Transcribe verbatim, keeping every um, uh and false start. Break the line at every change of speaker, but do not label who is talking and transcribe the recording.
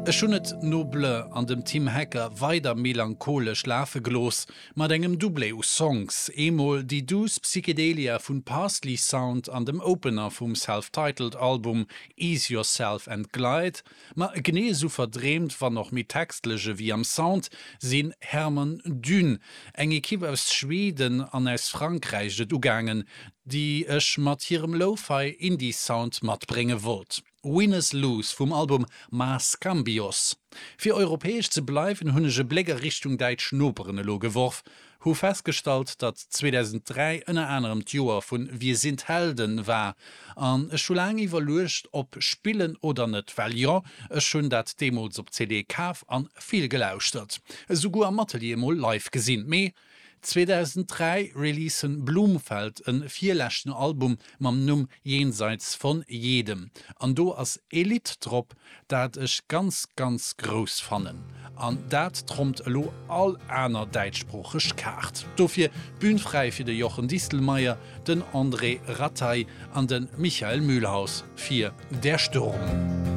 Ech hunn et no Blur an dem Tim Hecker weider melancholesch lafe gelooss, mat engem Doublé u Songs, eemol déi duuss Psychedelia vun Parsley Sound an dem Opener vum Self-Titled Album Ease Yourself and Glide, ma genee esou verdreemt, wann och méi textlech ewéi am Sound, sinn Herman Dune, eng Ekipp aus Schweden an aus Frankräich, et ugaangen, déi ech mat hirem Lo-Fi Indie Sound matbrénge wollt. Winners Lose vum Album Mas Cambios. Fir europäesch ze bleiwen, hunn ech e Bléck a Richtung däitsch Noperen elo geworf, hu festgestallt, datt zweedausenddräi ënner anerem d'Joer vun Wir sind Helden war, an ech hu laang iwwerluecht, ob spillen oder net, well jo, ech hunn dat deemools op C D kaf an vill gelauschtert, esouguer am Atelier emol live gesinn, mee zweedausenddräi releasen Blumfeld e virleschten Album mam Numm Jenseits von jedem an do ass e Lidd drop, dat ech ganz ganz grouss fannen an dat trompt elo all aner däitschsproocheg Kaart. Dofir Bün fräi fir de Jochen Distelmeier, den André Rattay an de Michael Mühlhaus fir Der Sturm.